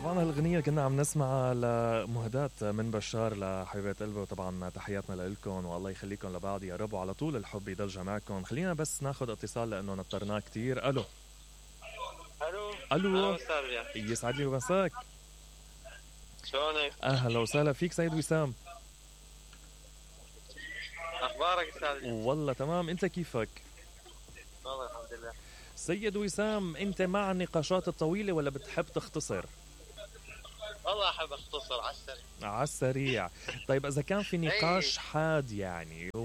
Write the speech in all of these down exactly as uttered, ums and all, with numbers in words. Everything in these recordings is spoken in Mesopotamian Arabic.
طبعا هالغنية كنا عم نسمعها لمهدات من بشار لحبيبة قلبي، وطبعا تحياتنا لكم والله يخليكم لبعض يا رب، وعلى طول الحب يضل معكم. خلينا بس ناخذ اتصال لانه نطرناه كتير. الو الو الو استاذ، يسعد لي مساك. شلونك؟ اهلا وسهلا فيك سيد وسام. اخبارك استاذ؟ والله تمام، انت كيفك؟ والله الحمد لله. سيد وسام، انت مع النقاشات الطويلة ولا بتحب تختصر؟ والله احب اختصر على السريع. على السريع. طيب اذا كان في نقاش حاد يعني و...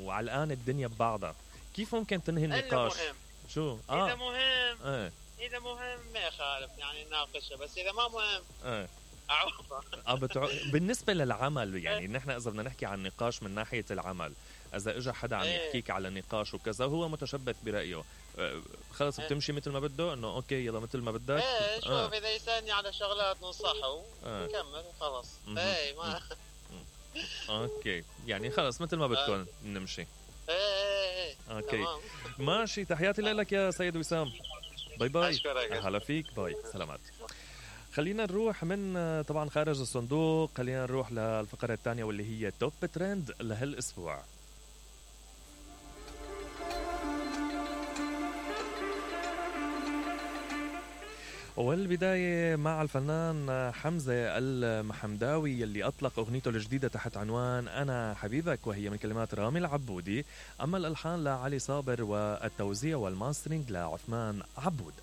وعلى الان الدنيا ببعضها، كيف ممكن تنهي النقاش؟ مهم. شو؟ اه اذا مهم اه اذا مهم ما يخالف يعني نناقشه، بس اذا ما مهم اه اعوضه. اه بتع... بالنسبة للعمل يعني نحن اذا بدنا نحكي عن نقاش من ناحية العمل، اذا اجى حدا عم يحكيك على نقاش وكذا وهو متشبث برأيه، آه خلص بتمشي مثل ما بده، انه اوكي يلا مثل ما بدك. ايه شوف آه. اذا يسألني على شغلات ننصحه آه. نكمل وخلص. ايه ما اوكي يعني خلص مثل ما بدكم آه. نمشي. ايه ايه ايه اوكي تمام. ماشي، تحياتي لك يا سيد وسام. باي باي. اشكرك. هلا فيك، باي سلامات. خلينا نروح من طبعا خارج الصندوق، خلينا نروح للفقرة الثانية واللي هي توب ترند لهالاسبوع. والبداية مع الفنان حمزة المحمداوي يلي أطلق أغنيته الجديدة تحت عنوان أنا حبيبك، وهي من كلمات رامي العبودي، أما الألحان لعلي صابر والتوزيع والماسترينج لعثمان عبود.